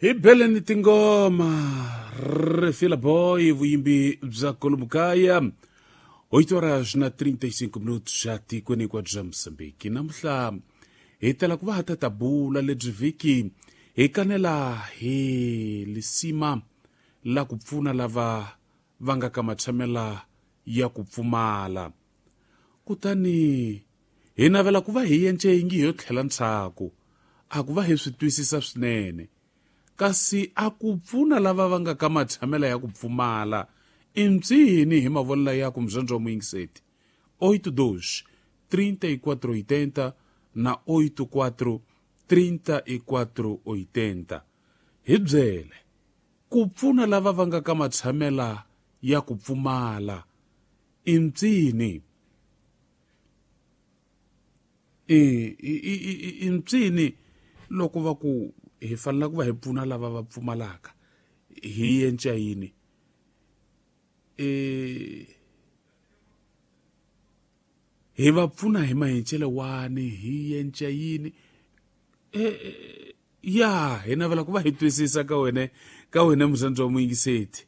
Hi beleni tingoma Refila Boy, vuyimbi bya Kolomukaya. 8 horas na 35 minutos xa tikweni hinkwabyo bya Mozambique. Namuhla hi tala ku va ha ta bula lebyi vhiki hi kanela hi lisima la ku pfuna lava va nga ka matshamela ya ku pfumala. Kutani hi navela ku va hi yence yingi yo tlhela ntshaku, a ku va hi swi twisisa swinene. Kasi a ku pfuna lava va nga ka matshamela ya ku pfumala i mpsini hi mavonelo ya ku mzonzo wa muyingiseti 82 34 80 na 84 34 80. Hi byele ku pfuna lava va nga ka matshamela ya ku pfumala i mpsini i mpsini loko va ku hi fanele ku va hi pfuna lava va pfumalaka hi yenca yini. Hi va pfuna hi mahencele wani hi yenca yini. Ya hi navela ku va hi twisisa ka wena ka wena muzandzo wa muyingiseti.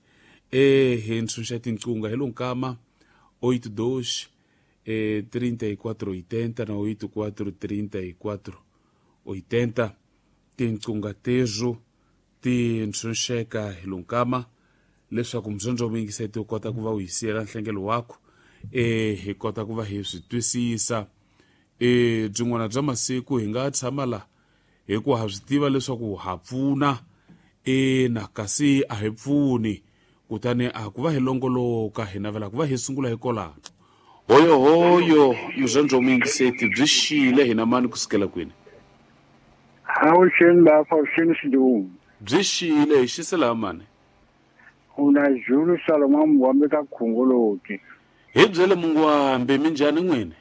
Hi ntshunxa tinqunga hi lonkama 82 34 80 na 84 34 80. Tinqunga tezo ti ntshunxeka hi lonkama leswaku muzandzo wa muyingiseti u kota ku va u hi siyela nhlengelo wakho, hi kota ku va hi swi twisisa. Byin'wana bya masiku hi nga tshama la hi ku ha swi tiva leswaku ha pfuna, na kasi a hi pfuni, kutani a ku va hi longoloka hi navela ku va hi sungula hi kolano. Hoyo hoyo muzandzo wa muyingiseti byi xile hina mani kusukela kwini? Avuxeni lapha, avuxeni Xidungu. Byi xile hi xisela mani? Una Zulu Salomon Mungwambe ka Khongoloti. Hi byele Mungwambe, minjhani n'wini?